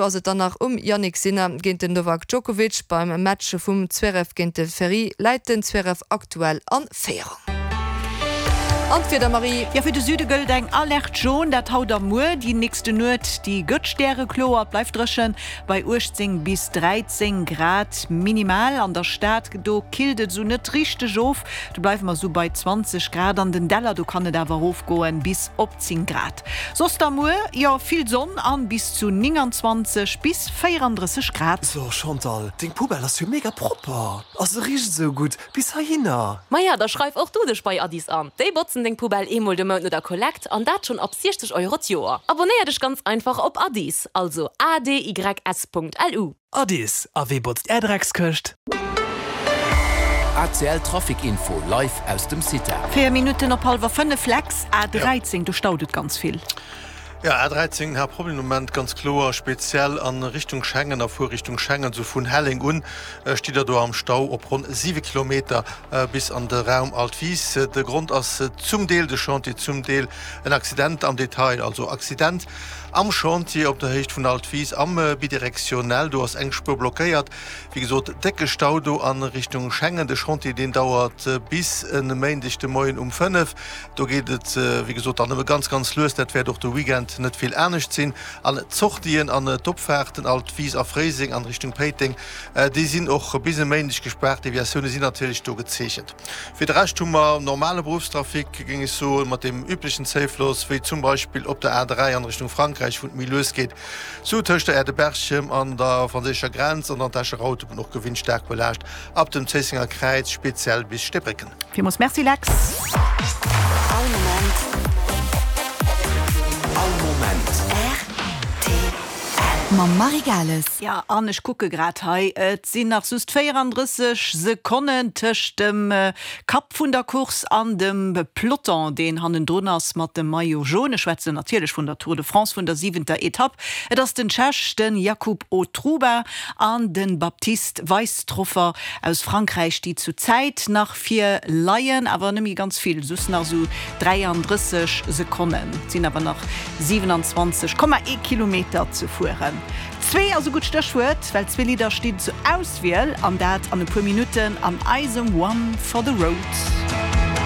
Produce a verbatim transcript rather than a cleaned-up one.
Ass et dann nach um Jannik Sinner géint den Novak Djokovic. Beim Match vum Zverev géint de Ferry läit den Zverev aktuell a Féierung. An d'Wieder, Marie? Jo, fir de Süde gëllt eng Alerte jaune, dat haut a muer. Déi nächste Nuet, déi gëtt stärekloer, et bleift dréchen bei uechtzéng bis dräizéng Grad minimal. An der Stad, do killt et esou net richteg of, do bleiwe mer esou bei zwanzeg Grad. An den Däller, do kann et awer erofgoen bis op zéng Grad. Soss da muer, jo, vill Sonn an bis zu nénganzwanzeg bis véierandrësseg Grad. So Chantal, deng Poubelle ass jo mega propper a se richt esou gutt bis heihinner. Maja, da schreif och du dech bei Adys an. Déi botzen deng Poubelle eemol de Mount no der Kollekt an dat schonn ab siechzeg Euro d'Joer. Abonéier dech ganz einfach op Adys, also A D Y S Punkt L U. Adys, a wee botzt är Dreckskëscht? A C L Trafic Info live aus dem Cita. Véier Minutten op hallwer fënnef, Lex, A dräizéng, do staut et ganz vill. Jo, A dräizéng hat Problem de Moment, ganz kloer, speziell a Richtung Schengen a Fuerrichtung Schengen, sou vun Helleng un stitt der do am Stau op ronn siwe Kilometer bis an de Raum Altwis. De Grond ass zum Deel de Chantier, zum Deel en Accident am Detail, also Accident am Chantier op der Héicht vun Altwis am Bidirectionnel, do ass eng Spuer blockéiert. Wéi gesot, décke Stau do a Richtung Schengen. De Chantier, deen dauert bis e Méindeg de Moien um fënnef. Do geet et, wéi gesot, dann nëmme ganz, ganz lues. Dat wäert och de Weekend net vill anescht sinn. An d'Sortien an d'Opfaarten Altwis a Fréiseng an Richtung Péiteng, déi sinn och bis e Méindeg gespaart. Deviatioune sinn natierlech do gezeechent. Fir de Rescht hu mer normale Beruffstrafic, géing ech soen, mat deem üblechen Zéifloss, wéi zum Beispill op der A dräi an Richtung Frankräich, wou et méi lues geet, sou tëscht der Aire de Berchem an der franséischer Grenz an dann d'Escher Autobunn och gewinnt staark belaascht ab dem Zéissenger Kräiz, speziell bis Steebrécken. Villmools Merci Lex. All Moment. All Moment. R T L. Mam Marie Gales. Ja, an ech kucke grad hei, et sinn nach just véierandrësseg Sekonnen tëscht dem Kapp vun der Course an dem Peloton, deen hannendrun ass mat dem Maillot jaune. Ech schwätzen natierlech vun der Tour de France, vun der siwenter Etapp. Et ass den Tschech, den Jakub Otruba an den Baptiste Weistroffer aus Frankräich, déi zu Zäit nach vir leien, awer net méi ganz vill, just nach esou dräiandrësseg Sekonnen. Et sinn awer nach siewenundzwanzeg Komma ee Kilometer ze fueren. Zwee ass e gutt Stéchwuert, well zwee Lidder stinn zur Auswiel, an dat an e puer Minutten an eisem One for the Road.